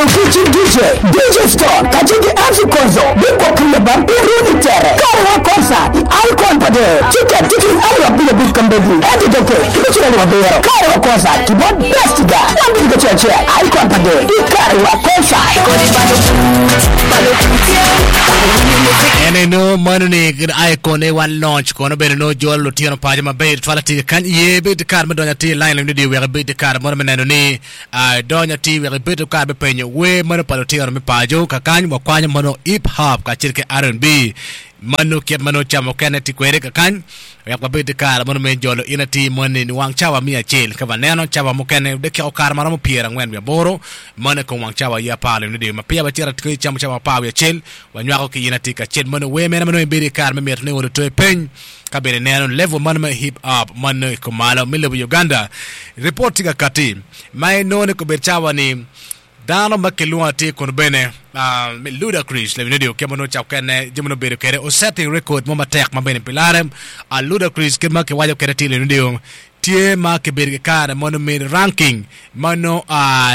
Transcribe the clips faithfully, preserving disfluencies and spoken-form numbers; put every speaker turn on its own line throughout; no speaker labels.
Kici D J, D J Stone, kacel ki M C Konzo, Big Okriya Bam, Iruni Tere, Karewa Concert, i Icon Pade, Ticket, ticket alip abic abic kambedi, ento doke, kibicito alip abiro, Karewa Concert, kibot Best Guy, wan bidigo acel acel, Icon Pade, i Karewa Concert.
En eno mano ni Icon e wan launch kono bene no jolo lutino paco maber twal atir kany ye bed kare me donyo atir line ni wek ibed kare mono me neno ni donyo atir wek ibed kare me penyo wer mano pa lutino me paco kakany wakwanyo mano hip hop kacel ki R and B mano kit mano camo kene ti kwede kakany wek wabed kare mono me jolo in atir moni ni wang cawa miya acel ka waneno cawa mukene dakika okare maromo pyera angwen wiye aboro mano kom wang cawa ya apar ni ma peya wacito atir camo cawa apar wiye acel wanywako ki in atir kacel mano wer mene mano ibedo i kare me mito ni olo toe peny ka bene neno level mano me hip hop mano i kumalo me lobo Uganda report tye ka kati ma inongo ni kobed cawa ni dano ma kilwongo atir kono bene me Ludacris lebi nedi oke mano cak kene jami no bedo kede o setting record mo matek ma bene pilare a Ludacris kit ma kiwaco kede atir lebi nedi tye ma kibedo ki kare mano me ranking mano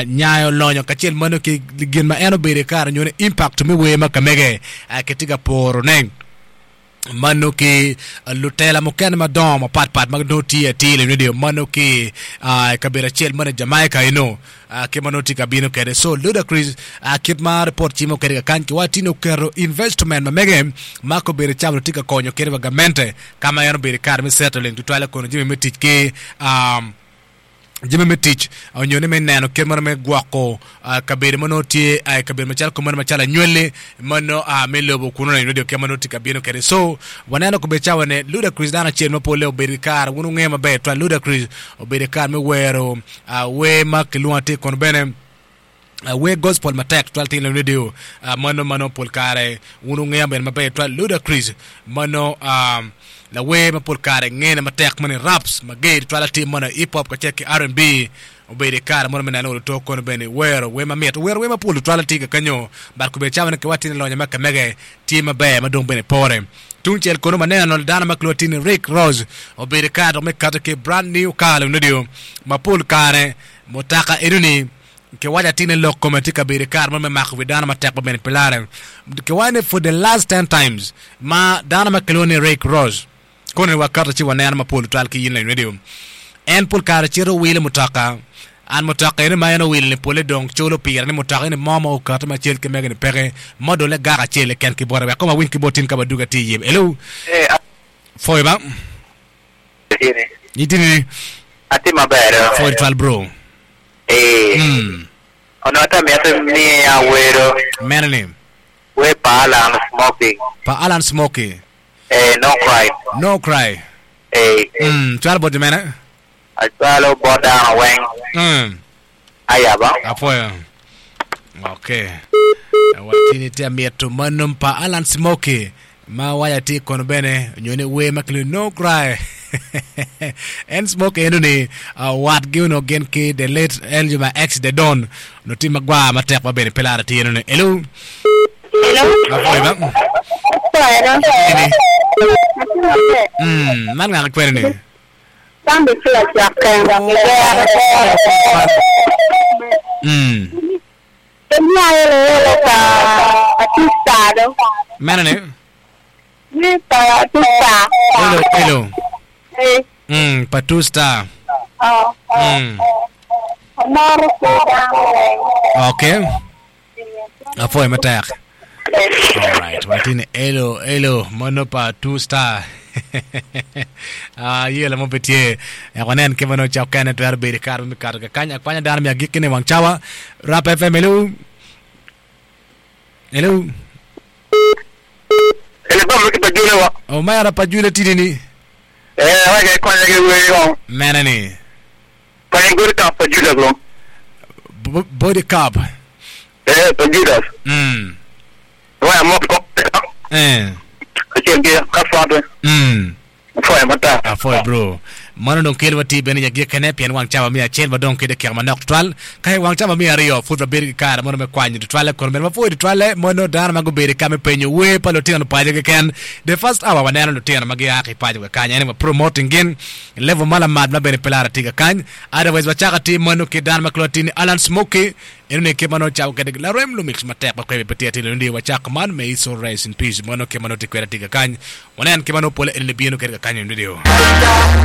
nyayo lonyo kacel mano ki gin ma en obedo i kare nyo ni impact me wer ma kamege kitye ka poro ne mano ki lutela mukene madongo mapatpat ma nongo tye atir lebi nedi mano ki kabedo acel mano Jamaica eno ki ma nongo tye ka bino kede so Ludacris kit ma report cimo kede kakany ki watino oketo investment ma mege ma kobedo camo tye ka konyo kede wa gamente kama en obedo i kare me settling tutwale kono jami me tic ki jami me tic onyo ni me neno kit mano me gwoko kabedo ma nongo tye kabedo macalo komano macalo anywali mano me lobo kuno na radio kit ma nongo tye ka bino kede so waneno kobedo cawa ni Ludacris dano acel ma pole obedo ki kare wun wungeyo maber twal Ludacris obedo ki kare me wero wer ma kilwongo atir kono bene wer gospel matek twal tye radio mano mano pol kare wun wungeyo bene maber twal Ludacris mano lawer ma pol kare ngene matek mani raps mager twal atir mano hip hop kacel ki R and B obedo i kare mono me neno oluto kono bene wero wer mamit wero wer mapol twal atir kakanyo but kobedo cawa ni kiwaci ni lonyo ma kamege tye maber ma dong bene pore tung cel kono maneno dano ma kilwongo ni Rick Ross obedo i kare dok me kato ki brand new car radio ma pol kare mutaka enoni kiwaco atir ni lok kome tye ka bedo i kare mo me mako wi dano matek ma bene pilare kiwaco ni for the last ten times ma dano ma kilwongo ni Rick Ross kono ni wakato ci waneno mapol twal ki yin radio en pol kare cito wilo mutoka an mutoka eni ma en owilo ni pole dong culo pire ni mutoka eni mo ma okato macel ki mege ni peke modole gaka acel keken ki bote wek koma winy ki bot tin ka baduga tye iye hello foy ba itini
Ati maber.
Foy twal bro.
Eh.
Mm.
Ono ata miete ni awero.
Mene ni.
We pa Alan Smoking.
Pa Alan Smoking.
Eh, no cry.
No cry.
Eh.
Mm, twal bot mene?
Achwalo bot dano weng.
Mm.
Ayaba.
Apoyo. Okay. Watini te mieto manom pa Alan Smoking. Ma waya ti kono bene nyo ni we ma kilwongo no cry. En Smoking eno ni wat gi ono gin ki the late Eljuma ex the Don no ti magwa matek ma bene pelara ti eno ni. Hello.
Hello.
Apoyo ba.
Apoyo.
Ini. Mm, man ngaka kwene ni.
Sambi kila chake.
Mm.
Kenya ele ele ka artista do.
Mene ni.
Ni pa artista.
Hello, hello.
Eh.
Mm, pa two star.
Oh.
Mm.
Amaro ko.
Okay. Apoy matek. All right. Watini hello, hello. Mano pa two star. Ah, yela mo betie. Ya wanen ke mano chao kene twero bedi kar mi kar ka kanya kwanya dano mi agikki ne wang chawa. Rap F M hello. Hello.
Ele ba mi pa jule wa.
O mara pa jule tini ni.
Eh, wa ke kwanya ke we yo.
Mene ni.
Kwanya gori ka pa jule bro.
Body cup.
Eh, pa jule.
Mm.
Wa mo ko.
Eh.
Achiel ke ka fa do.
Mm.
Foy mata.
Ah, foy bro. Mano dong kelo wati bene nyagi kene pien wang cawa mia acel ma dong kede kek manok tutwal. Ka i wang cawa mia aryo pud wabedo ki kare mono me kwanyo tutwalle kono bene wapwoyo tutwalle mono dano ma gubedo ka me penyo wer pa lutino paco keken. The first hour waneno lutino ma gia ki paco kakany ene wa promoting gin level ma lamat ma bene pe lara tye kakany. Otherwise wacako atir mono ki dano ma kilwongo atir ni Alan Smokey eno ni kit ma nongo cako kwede larem lumix matek ma kwebe pe tye atir ni wacako man may his soul rest in peace mono kit ma nongo tye kwede atir kakany. Wanen kit ma nongo pole eni bino kwede kakany i radio.